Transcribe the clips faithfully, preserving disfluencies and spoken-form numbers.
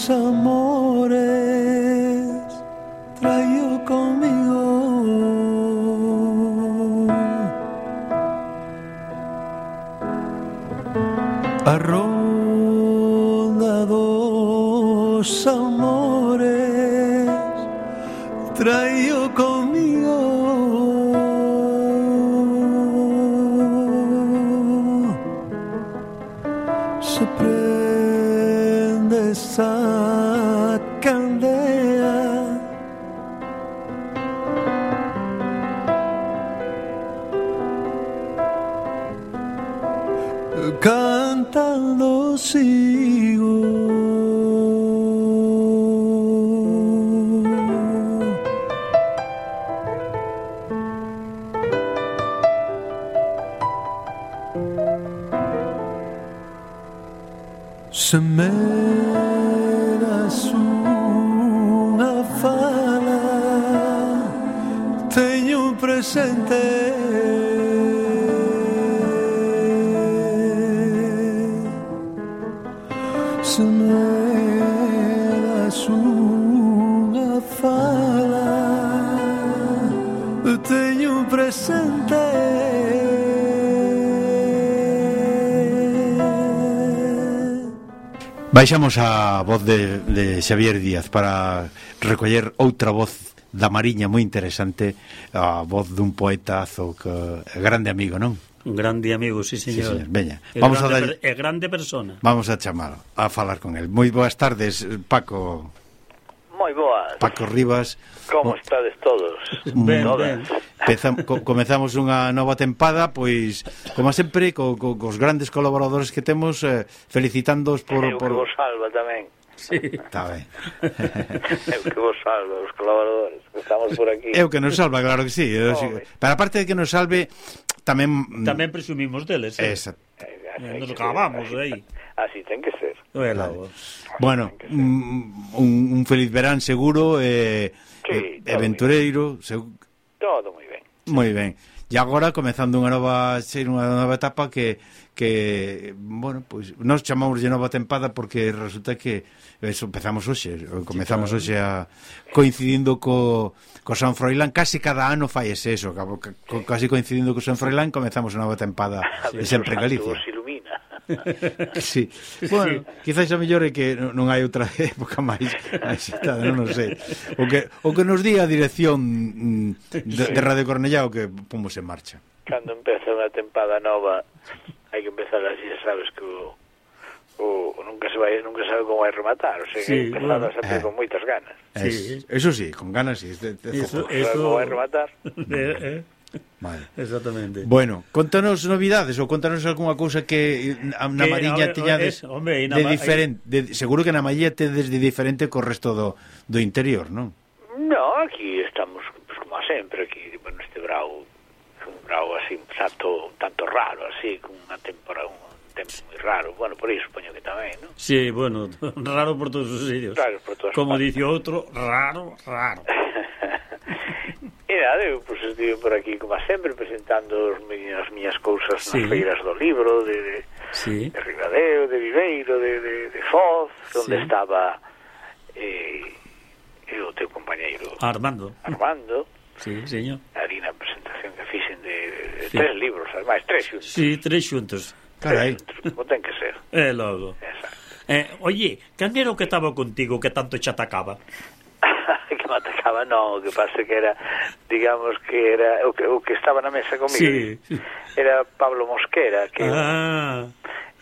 amores traigo conmigo. A ronda dos amores traigo conmigo. Se prende esa candela, cantando sigo. Se me das unha fala, teño presente. Se me das unha fala, teño presente. Baixamos a voz de, de Xavier Díaz para recoller outra voz da Mariña moi interesante, a voz dun poetazo que é grande amigo, non? Un grande amigo, sí, señor. Sí, señor. Veña, é vamos grande, a dar... é grande persona. Vamos a chamar a falar con el. Moi boas tardes, Paco. Moi boas. Paco Rivas. Como estades todos? Ben, Todas. ben. Pezam, co, comezamos unha nova tempada, pois, como sempre, co, co, cos grandes colaboradores que temos, eh, felicitándoos por... Eu por... que vos salva tamén. Sí. Está ben. Eu que vos salva, os colaboradores que estamos por aquí. Eu que nos salva, claro que sí. Eu, sí. Home. Pero aparte de que nos salve, tamén... Tamén presumimos deles, eh? Exacto. Eh, Nos acabamos aí. Así ten que ser. Vale. Bueno, un, un feliz verán seguro, eh, Sí, eh, aventureiro, seg... Todo moi ben. moi ben. E agora comezando unha nova ser unha nova etapa que que bueno, pois pues, nós chamamos de nova tempada porque resulta que eso empezamos hoxe, comezamos hoxe a coincidindo co co San Froilán, casi cada ano fai ese eso, co, casi coincidindo co San Froilán comezamos a nova tempada de sempre en Galicia. Os ilumina. Sí. Bueno, quizás a mellor é que non hai outra época máis axitada, non, non sei. O que, o que nos di a dirección de, de Radio Cornellá o que pomos en marcha. Cando empeza unha tempada nova, hai que empezar así, sabes que o, o nunca se vai, nunca sabe como vai rematar, o sea, Sí, que empezar bueno. sempre Eh. con moitas ganas. Sí. Es, eso sí, con ganas sí. De, de Eso, foco. Sabe como vai rematar. eh, eh. Vale. Exactamente. Bueno, contanos novidades ou contanos algunha cousa que na Que, Mariña a ver, teñades es, hombre, e na de Ma- diferente, de, seguro que na Mariña tedes de diferente co resto do, do interior, non? No, aquí estamos, pues, como sempre, aquí, bueno, este brao, un brao así, un tanto, tanto raro, así, con unha temporada, un tempo moi raro, bueno, por iso supoño que tamén, ¿no? Sí, bueno, raro por todos os sitios. Raro por todas Como partes. dice outro, raro, raro. E nada, eu pues, estive por aquí, como sempre, presentando os mi, as miñas cousas Sí. nas feiras do libro, de, de, Sí. de Ribadeo, de Viveiro, de, de, de Foz, onde Sí. estaba eh, e o teu compañeiro Armando. Armando, Sí, señor. ali na presentación que fixen de, de, de Sí. tres libros, ademais, tres xuntos. Sí, tres xuntos. Carai. Como ten que ser. E logo. Exacto. Eh, oye, quen era o que estaba contigo que tanto che atacaba? Que me atacaba, non, o que pasa que era, digamos que era o que, o que estaba na mesa comigo. Sí. Era Pablo Mosquera, que Ah,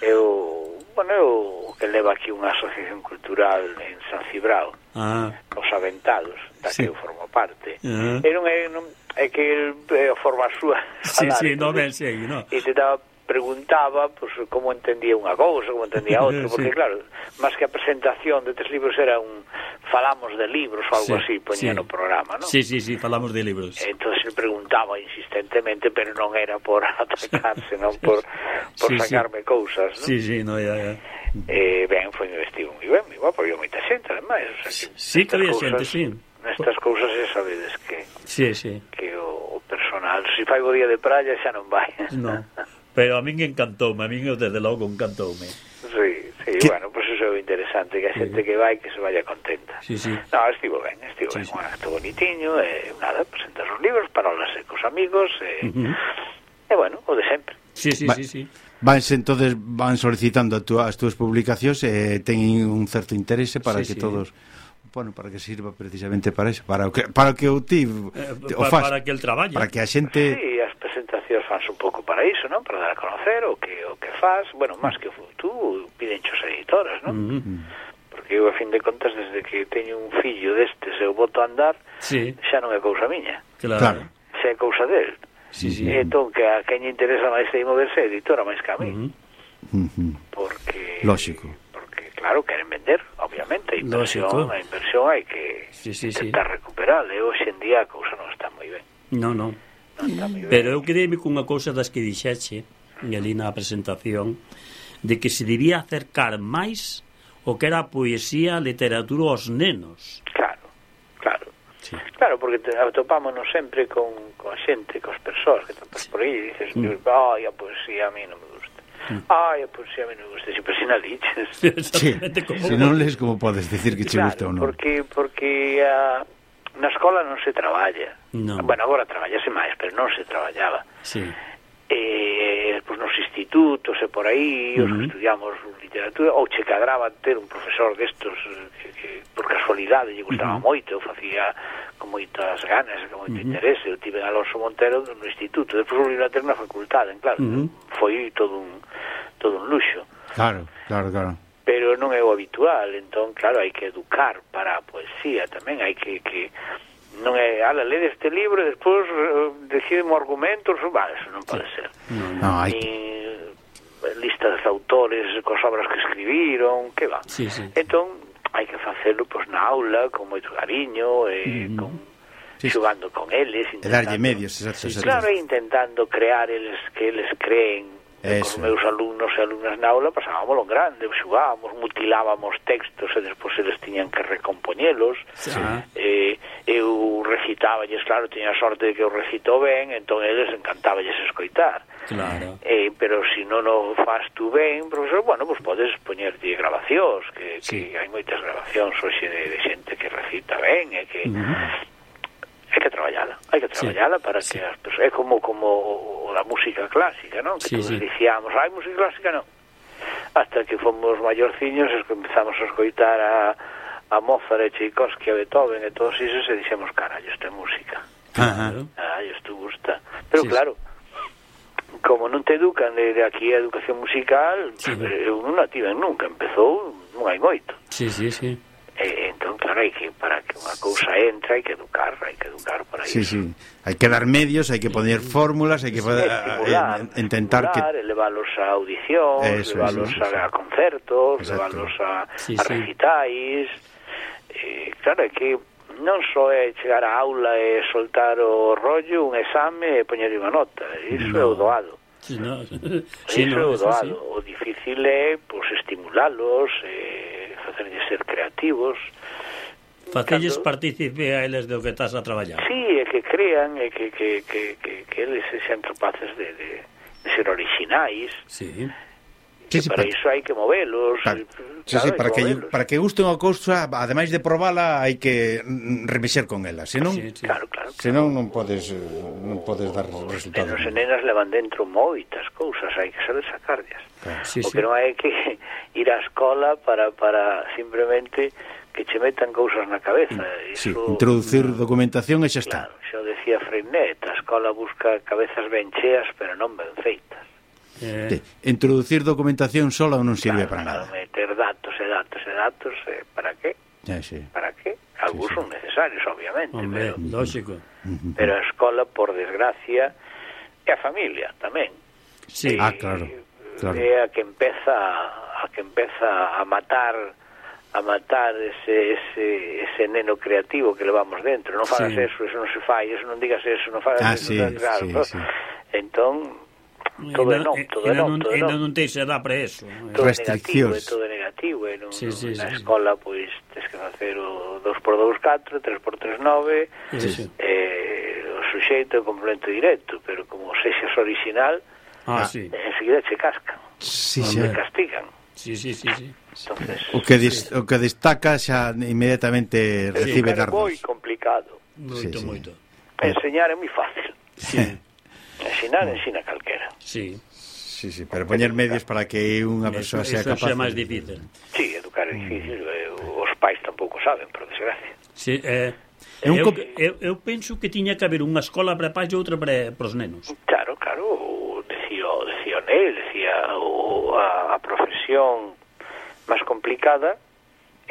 eu, bueno, eu que leva aquí unha asociación cultural en San Cibrao, ah, Os Aventados, da Sí. que eu formo parte. Ah. E non é, non, é que el eh, forma a súa sí, falar, sí, no entonces, ben sei, no. e te daba preguntaba pues, como entendía unha cousa, como entendía outra, porque Sí. claro, máis que a presentación de tres libros era un falamos de libros ou algo Sí, así, poñía sí. no programa, ¿no? Sí, sí, sí, falamos de libros. Entonces le preguntaba insistentemente, pero non era por atacarse, non por, por Sí, sí. sacarme cousas, ¿no? Sí, sí, no, ya, ya. Eh, ben, foi un vestido moi ben, moi guapo, había moita xente, ademais, o sea, que Sí, que había nestas xente, cousas- sí. Nestas cousas xa sabedes que Sí, sí. que o, o personal, se fai o día de praia xa non vai. No. Pero a min encantoume, a min desde logo encantoume. Sí, sí, Que- bueno, pues eso é o interesante. interesante, que a xente que vai que se vaya contenta. Sí, sí. No, estivo ben, estivo Sí, ben, sí. un acto bonitiño, e nada, presentas os libros, parolas e cos amigos, e, Uh -huh. e bueno, o de sempre. Sí, sí, Va- sí, sí. Vanse entonces van solicitando a túa, as túas publicacións e eh, teñen un certo interese para Sí, que sí. todos, bueno, para que sirva precisamente para eso, para o que para o que o ti Eh, o pa- fas, para que el traballe. para que a xente Sí, as presentacións fanse un pouco para iso, non? Para dar a conocer o que o que faz, bueno, máis que tú, piden as editoras, non? Uh -huh. Porque eu, a fin de contas, desde que teño un fillo destes e o boto a andar, Sí, xa non é cousa miña, claro. Claro. xa é cousa del. Sí, sí. E entón, que a quen lle interesa máis aí moverse é a editora máis que a mí, Uh -huh. Ujú. porque... Lógico. Porque, claro, queren vender, obviamente, a inversión, Lógico. a inversión hai que Sí, sí, sí. intentar recuperar, e hoxe en día a cousa non está moi ben. No, no. Non está moi ben. Pero eu quedei cunha cousa das que dixeche e ali na presentación de que se debía acercar máis o que era a poesía, a literatura aos nenos. Claro, claro. Sí. Claro, porque te, atopámonos sempre con, con a xente, cos persoas que topas por aí e dices, Mm. ai, a poesía a mí non me gusta. Ai, a poesía a mí non me gusta, sempre sin a liches. Sí, Exactamente como... se non les como podes decir que che Claro, gusta ou non. porque, porque a, na escola non se traballa. No. Bueno, agora traballase máis, pero non se traballaba. Sí. E, pues, nos institutos e por aí, os que Ujú. estudiamos literatura, ou che cadraba ter un profesor destos eh, que, que por casualidade lle gustaba Ujú. moito, eu facía con moitas ganas, con moito Ujú. interese. Eu tive en Alonso Montero no instituto, despois volví a ter na facultade, claro, Ujú. foi todo un todo un luxo. Claro, claro, claro. Pero non é o habitual, entón, claro, hai que educar para a poesía tamén, hai que, que non é, ala, lede este libro e despois uh, decidem o argumento, vale, eso non pode ser. No, no. No, hai Ni que listas de autores cos obras que escribiron, que va. Sí, sí. Entón, hai que facelo pois, na aula, con moito cariño, e Mm. con, Sí, sí. xugando con eles, e darlle intentando- medios, exacto, exacto. Claro, e intentando crear eles que eles creen. Eso. Os meus alumnos e alumnas na aula pasábamos lo grande, xugábamos, mutilábamos textos e despois eles tiñan que recompoñelos. Sí. Eh, eu recitáballes, claro, tiña a sorte de que eu recito ben, entón eles encantáballes escoitar. Claro. Eh, pero se si non o faz tú ben, profesor, bueno, pues podes poñerte grabacións, que, Sí. que hai moitas grabacións hoxe de, de xente que recita ben, e que Uh -huh. hai que traballala, hai que Sí, traballala para sí. que as persoas, é como como a música clásica, non? Que Sí, todos sí. dicíamos, hai música clásica, non. Hasta que fomos maiorciños e que empezamos a escoitar a, a Mozart e Tchaikovsky, a Beethoven e todos isos e dixemos, carallo, isto é música. Ajá. Claro. Ai, isto gusta. Pero Sí, claro, como non te educan de, de aquí a educación musical, Sí. eu non a tiven nunca, empezou non hai moito. Sí, sí, sí. E, entón, claro, hai que, para que unha cousa entre, hai que educar, hai que educar para Sí, iso. sí. Hai que dar medios, hai que poner fórmulas, hai que poder, Estimular, eh, intentar que estimular, elevalos a audicións, Eso, elevalos eso, eso. a, a concertos, Exacto. elevalos a, Sí, a sí. recitais. Eh, claro, é que non só é chegar á aula e soltar o rollo, un exame e poñer unha nota. Iso No. é o doado. Sí, no. Sí, Sí, iso no, é o eso doado. sí. O difícil é pues, estimulalos, eh, facerlles ser creativos. Facelles Cando- partícipe a eles do que estás a traballar. Sí, é que crean, é que, que, que, que, que eles sexan capaces de, de, de ser orixinais. Sí. Sí, Que sí, para pa- iso hai que movelos. pa- eh, sí, claro, sí, hai para que movelos. para que guste unha cousa, ademais de probala, hai que mm, remexer con ela, senón Sí, sí. Claro, claro. senón non podes eh, non podes dar resultados. Nenos e nenas levan dentro moitas cousas, hai que saber sacarlas. Claro. Sí, O sí. que non hai que ir á escola para, para simplemente que che metan cousas na cabeza. Sí, Iso, introducir documentación e xa está. claro, xa o decía Freinet, a escola busca cabezas ben cheas, pero non ben feitas. Eh, Sí, introducir documentación sola non sirve Claro, para claro, nada. meter datos e datos e datos, eh, para qué? Ya, sí. Para qué? Algúns sí. son necesarios, obviamente, hombre, pero, lógico. pero a escola, por desgracia, e a familia tamén. Sí. Eh, Ah, claro, claro. É a que empeza a que empeza a matar a matar ese, ese, ese neno creativo que levamos dentro. Non fagas Sí. eso, eso non se fai, eso non digas eso, non fagas Ah, eso, sí, non, claro, sí, no? sí. Entón, todo é non, todo é non, todo é non, non. non te se dá para eso. Todo é negativo, Restriccións. é todo é negativo, e non, Sí, sí, na sí. escola pois tes que facer o dos por dous catro, tres por tres nove, Sí, sí. eh, o suxeito e o complemento directo, pero como sexas original, Ah, sí. enseguida che cascan, Sí, te sí. castigan. Sí, sí, sí, sí. Entonces, O que, dis, o que destaca xa inmediatamente recibe é dardos. moi complicado. Moito, Sí, sí. moito. Enseñar é moi fácil. Sí, Ensinar, ensina calquera. sí. Sí, sí, pero poñer medios para que unha Eso, persoa sea eso capaz. xa é máis difícil. Sí, educar é difícil, eh, os pais tampouco saben, por desgracia. Sí, eh, É un eu, co- eu, eu penso que tiña que haber unha escola para pais e outra para, para os nenos. Claro, claro, o decía, o decía Nel, decía o, a, a profesión máis complicada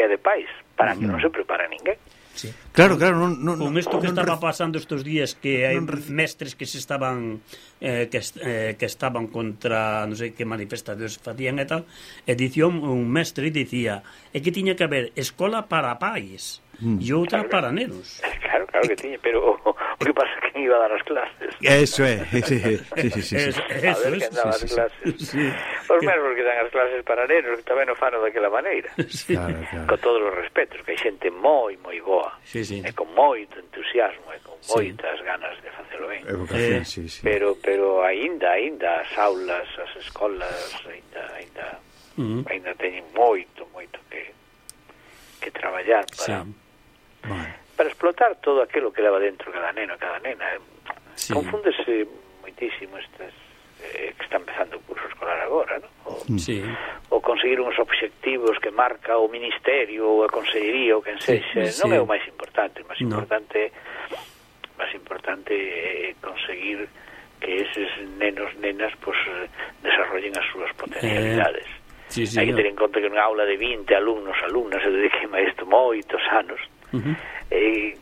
é a de pais, para que non se prepara ninguén. Sí. Claro, claro, non, non, Con isto que non estaba re- pasando estes días, que hai non reci- mestres que se estaban eh, que, est- eh, que estaban contra non sei que manifestacións facían e tal, e dicía un, un mestre dicía é que tiña que haber escola para pais Mm. e outra para nenos. Claro, claro que tiña, pero o, o que pasa é que iba a dar as clases. Eso é, sí, sí, sí, sí, sí. Es- A eso ver es, que andaba as sí, sí, sí. clases. Sí. Os mesmos que dan as clases para nenos, que tamén o fano daquela maneira. Sí. Claro, claro. Con todos os respetos, que hai xente moi, moi boa. Sí, sí. E con moito entusiasmo, e con Sí. moitas ganas de facelo ben. Evocación, Eh, sí, sí. Pero pero aínda, aínda as aulas, as escolas, aínda, aínda, Uh -huh. aínda teñen moito, moito que que traballar Sí. para Bueno. para explotar todo aquilo que leva dentro cada neno, cada nena. Sí. Confúndese moitísimo estas eh, que está empezando o curso escolar agora, ¿no? O, Sí. o conseguir uns obxectivos que marca o ministerio ou a consellería ou quen sexa, Sí, non sí. é o máis importante, o máis No. importante máis importante é conseguir que eses nenos, nenas, pues, desarrollen as súas potencialidades. Eh, sí, sí, Hai que no. ter en conta que nunha aula de vinte alumnos, alumnas, eu dediquei a isto moitos anos, Uh -huh. eh,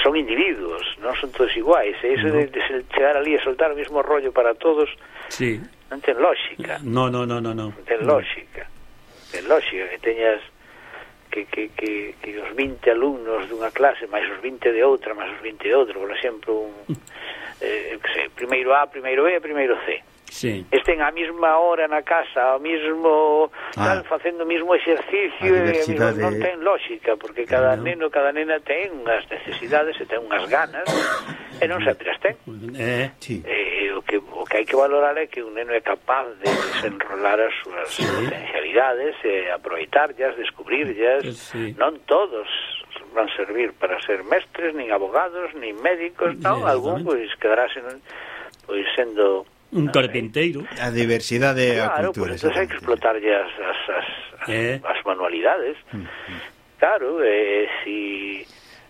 son individuos, non son todos iguais, e iso No. de, de chegar ali e soltar o mismo rollo para todos Sí. non ten lógica. No, no, no, no, no. Non ten lógica. Ten lógica que teñas que, que, que, que os vinte alumnos dunha clase máis os vinte de outra, máis os vinte de outra, por exemplo, un, eh, que sei, primeiro A, primeiro B e primeiro C. Sí. Estén á mesma hora na casa, ao mesmo Ah. tal, facendo o mesmo exercicio, A e, diversidade- amigo, non ten lógica, porque cada No. neno, cada nena ten unhas necesidades e ten unhas ganas, e non sempre as ten. Eh, Sí. Eh, o que o que hai que valorar é que un neno é capaz de desenrolar as súas Sí. potencialidades e aproveitarlas, descubrirlas. Sí. Non todos van servir para ser mestres, nin abogados, nin médicos, non, Sí, algún exactamente. pois quedarase pois sendo un carpinteiro. A diversidade e a claro, cultura. pois entón hai que explotarlle as, as, as, Eh. as manualidades. Claro, e si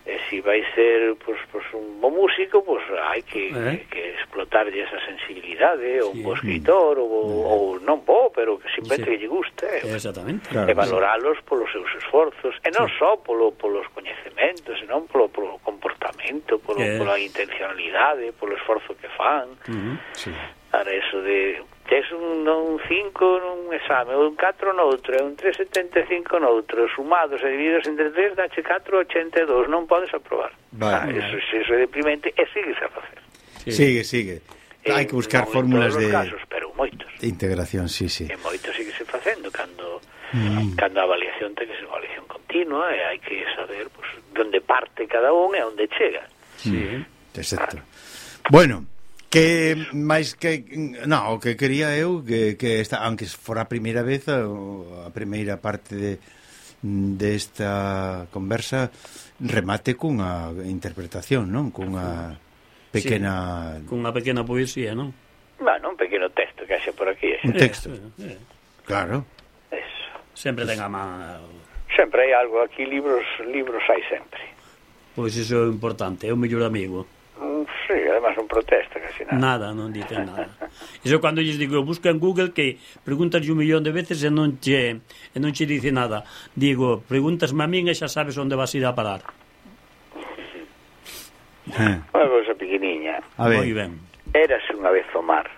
e si vai ser pois, pois un bo músico, pois hai que, Eh. que, que explotarlle esa sensibilidade, ou un Sí. bo escritor, ou, ou non bo, pero que simplemente Sí. que lle guste. Exactamente. Claro. E valoralos polos seus esforzos, e non só polo, polos coñecementos, senón polo, polo comportamento, polo, Eh. pola intencionalidade, polo esforzo que fan. Uh -huh. Sí. Para eso de tes un, un cinco nun exame, ou un catro noutro, e un tres setenta e cinco noutro, sumados e divididos entre tres, dache catro ochenta e dous, non podes aprobar. Vale. Ah, eso, eso é deprimente, e sigues a facer. Sí. Sigue, sigue. Hai que buscar non fórmulas en todos de, os casos, pero moitos. de integración, sí, sí. E moitos síguese facendo cando Mm. cando a avaliación ten que ser unha avaliación continua, e hai que saber pues, onde parte cada un e onde chega. Sí. Exacto. Bueno, que máis que no, o que quería eu que, que esta, aunque fora a primeira vez a, a primeira parte de desta conversa remate cunha interpretación, non? Cunha pequena Sí. Cunha pequena poesía, non? Bueno, un pequeno texto que haxe por aquí. un texto. Eh, eh. Claro. Eso. Sempre ten a man. Sempre hai algo aquí, libros libros hai sempre. Pois iso é importante, é o mellor amigo. Mm, sí, además non protesta casi nada. Nada, non dicen nada. Iso cando lles digo, busca en Google que preguntas un millón de veces e non che e non che dice nada. Digo, pregúntasme a min e xa sabes onde vas ir a parar. Eh, Unha cousa pequeniña. a ver. Moi ben. Érase unha vez o mar.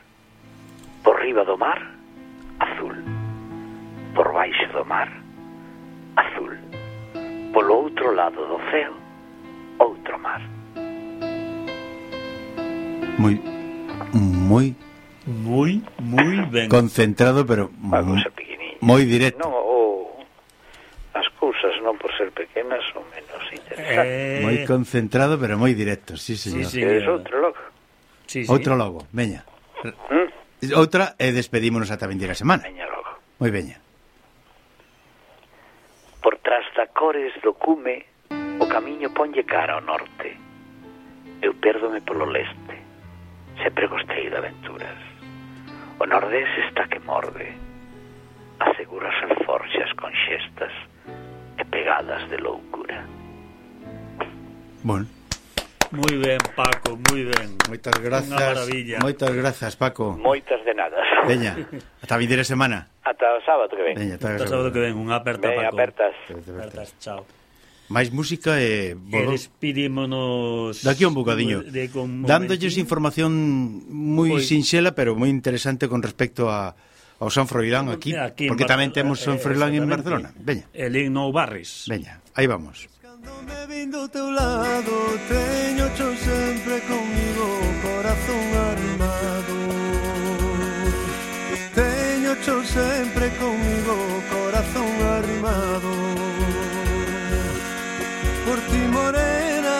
Por riba do mar, azul. Por baixo do mar, azul. Polo outro lado do ceo, outro mar. Moi moi Moi, moi ben. concentrado, pero Unha cousa pequeniña. moi directo. Non, o, as cousas non por ser pequenas son menos interesantes. Eh, Moi concentrado, pero moi directo, sí, señor. sí. Queres outro logo? sí, sí. Outro logo, veña. ¿Mm? Outra e despedímonos ata a vindeira semana. Veña logo. Moi veña. albores do cume o camiño ponlle cara ao norte. Eu pérdome polo leste, sempre gostei de aventuras. O nordés está que morde, asegura as alforxas con xestas e pegadas de loucura. Bueno, Moi ben, Paco, moi ben. moitas grazas. Unha maravilla. Moitas grazas, Paco. Moitas de nada. Veña, ata a vindeira semana. Ata o sábado que ven. Veña, ata Ata sábado que ven, unha aperta, Ben, Paco. apertas. Apertas, chao. máis música e E volvo despidímonos daqui un bocadiño de, de con dándolles información moi Pois- sinxela pero moi interesante con respecto a ao San Froilán aquí, Aquí en porque Bar- tamén temos San eh, Froilán en exactamente. Barcelona. Veña, El en Nou Barris. veña, aí vamos. Cando me vin do teu lado, teño cho sempre comigo, corazón armado. Teño cho sempre comigo, corazón arrimado. Por ti morena,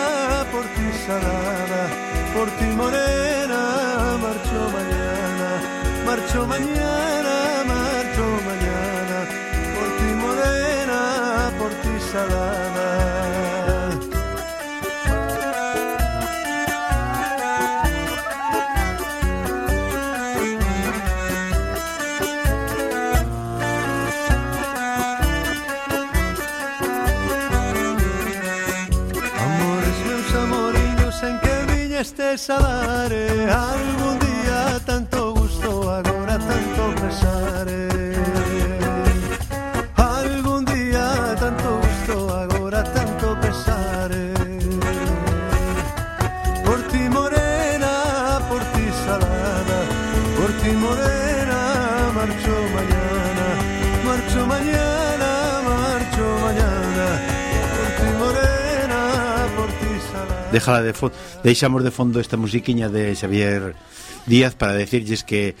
por ti salada, por ti morena, marcho mañana, marcho mañana, marcho mañana, por ti morena, por ti salada. Amores meus amoriños en que viñestes a dar eh, algún día tanto gusto, agora tanto pesar eh. Algún día tanto gusto, agora tanto pesar eh. Por ti morena, por ti salada, por ti morena, marcho mañana, marcho mañana, marcho mañana, por ti morena, por ti salada. Déjala de fondo, deixamos de fondo esta musiquiña de Xavier Díaz para decirlles que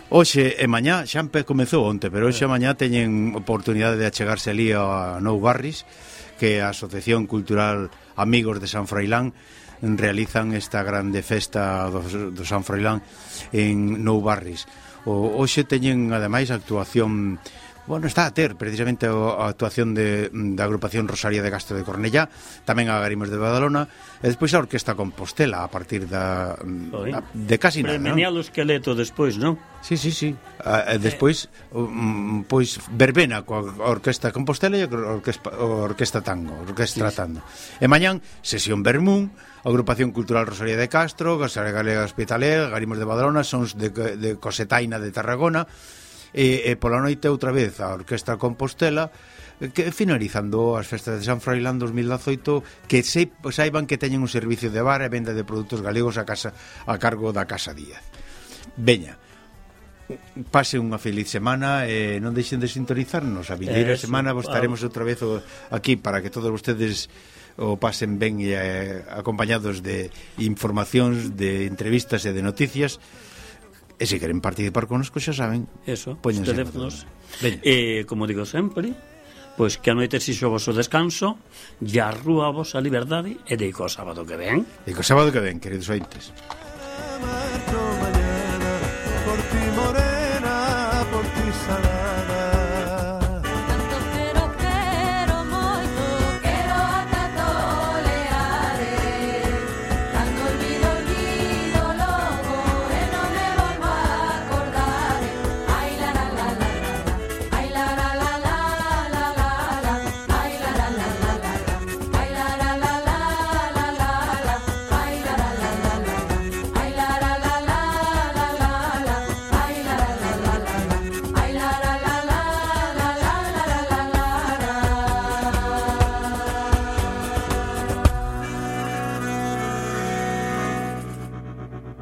hoxe e mañá, xa empe comezou onte, pero hoxe e mañá teñen oportunidade de achegarse ali a Nou Barris, que a Asociación Cultural Amigos de San Froilán realizan esta grande festa do, do San Froilán en Nou Barris. O, hoxe teñen ademais actuación. Bueno, está a ter precisamente a actuación de, da agrupación Rosaria de Castro de Cornellá, tamén a Garimos de Badalona, e despois a Orquesta Compostela a partir da, da de casi nada, non? Premiar o esqueleto despois, non? Sí, sí, sí. A, e despois um, pois verbena coa Orquesta Compostela e a Orquesta, a Orquesta Tango, a Orquestra Sí. Tango. E mañán sesión Vermún, Agrupación Cultural Rosaria de Castro, Gasaria Galega Hospitaler, Garimos de Badalona, Sons de, de Cosetaina de Tarragona. E, e pola noite outra vez a Orquestra Compostela, que finalizando as festas de San Froilán dos mil dezoito, que se, saiban que teñen un servicio de bar e venda de produtos galegos a casa a cargo da Casa Díaz. Veña, pase unha feliz semana e non deixen de sintonizarnos. A vindeira Eso, semana vos estaremos claro. outra vez o, aquí para que todos vostedes o pasen ben e eh, acompañados de informacións, de entrevistas e de noticias. E se queren participar connosco, xa saben, Eso, os póñense en teléfonos. Veña. E, como digo sempre, pois que a noite xixo o vosso descanso, e a rúa a vosa liberdade, e deico o sábado que ven. E co sábado que ven, queridos ointes. Marcho